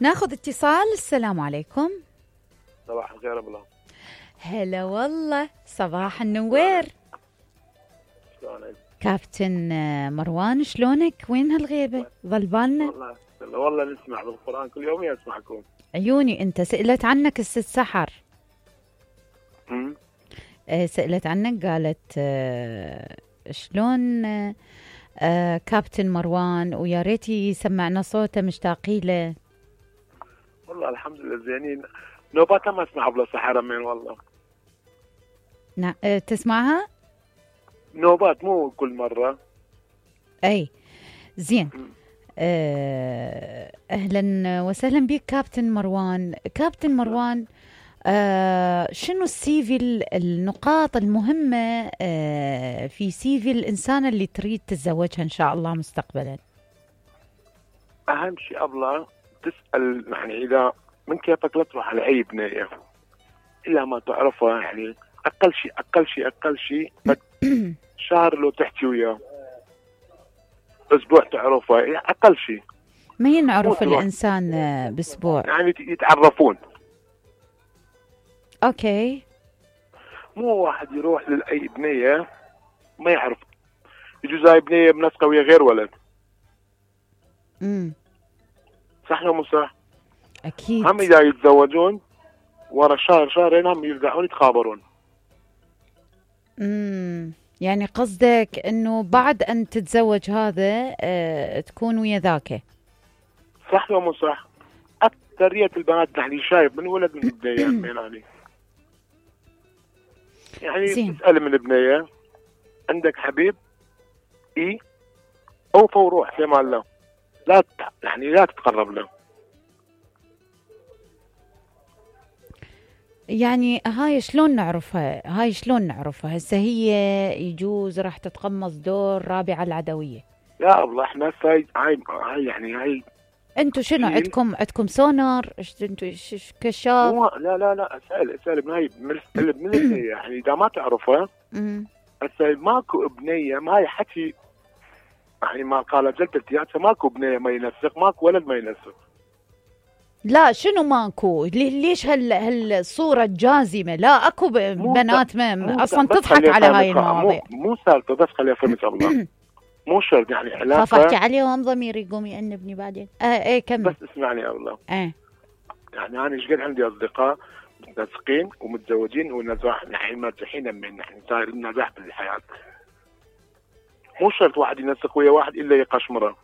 ناخذ اتصال. السلام عليكم. صباح الخير ابله. هلا والله، صباح النوير. شلونك؟ كابتن مروان، شلونك؟ وين هالغيبة؟ ظل بالنا؟ والله نسمع بالقرآن كل يوم يسمعكم. عيوني انت. سئلت عنك الست سحر. سئلت عنك، قالت شلون كابتن مروان، ويا ريت يسمعنا صوته، مشتاقين له. والله الحمد لله زينين. نوبات ما اسمع ابله سحر من والله. نعم. تسمعها؟ نوبات مو كل مرة. اي زين. اهلا وسهلا بك كابتن مروان. كابتن مروان، شنو السيفي، النقاط المهمة في سيفي الإنسانة اللي تريد تتزوجها إن شاء الله مستقبلا؟ أهم شيء أبله تسأل، يعني إذا من كيفك لا تروح على أي بنية إلا ما تعرفها، يعني أقل شيء شهر لو تحكي وياه، أسبوع تعرفها، يعني أقل شيء. ما ينعرف الإنسان بأسبوع، يعني يتعرفون. اوكي. مو واحد يروح لأي بنية ما يعرف، يجوز هاي بنية منسقة ويا غير ولد. صح ولا مو صح؟ اكيد. هم اذا يتزوجون ورا شهر شهرين هم يرجعون يتخابرون. يعني قصدك انه بعد ان تتزوج هذا تكون ويا ذاك. صح ولا مو صح؟ اكثرية البنات يعني شايف من ولد من البنية يعني تسأل من البنية عندك حبيب اوفى وروح في امان الله، لا تتقرب له. يعني هاي شلون نعرفها هسه؟ هي يجوز راح تتقمص دور رابعة العدوية. لا والله احنا هاي انتوا شنو عندكم سونار؟ انتوا كشاف؟ لا اسأل من هاي من البنية، يعني اذا ما تعرفها هسه ماكو بنية، ما هي حكي يعني ما قالت جدتي هسه ماكو بنية ما ينسق، ماكو ولد ما ينسق. لا شنو ماكو؟ ليش هالصورة الجازمة؟ لا اكو بنات ما اصلا تضحك على هاي المواضيع. مو سالفة، بس خليها فهمت الله. مو شرط يعني علاقة. خاف احكي عليهم ضميري يقوم يأنبني بعدين. ايه كمل. بس اسمعني يا الله. يعني انا ايش قد عندي اصدقاء متنسقين ومتزوجين ونزاح، يعني مرتاحين من، يعني صاير نجاح بالحياة. مو شرط واحد ينسق ويا واحد الا يقشمره.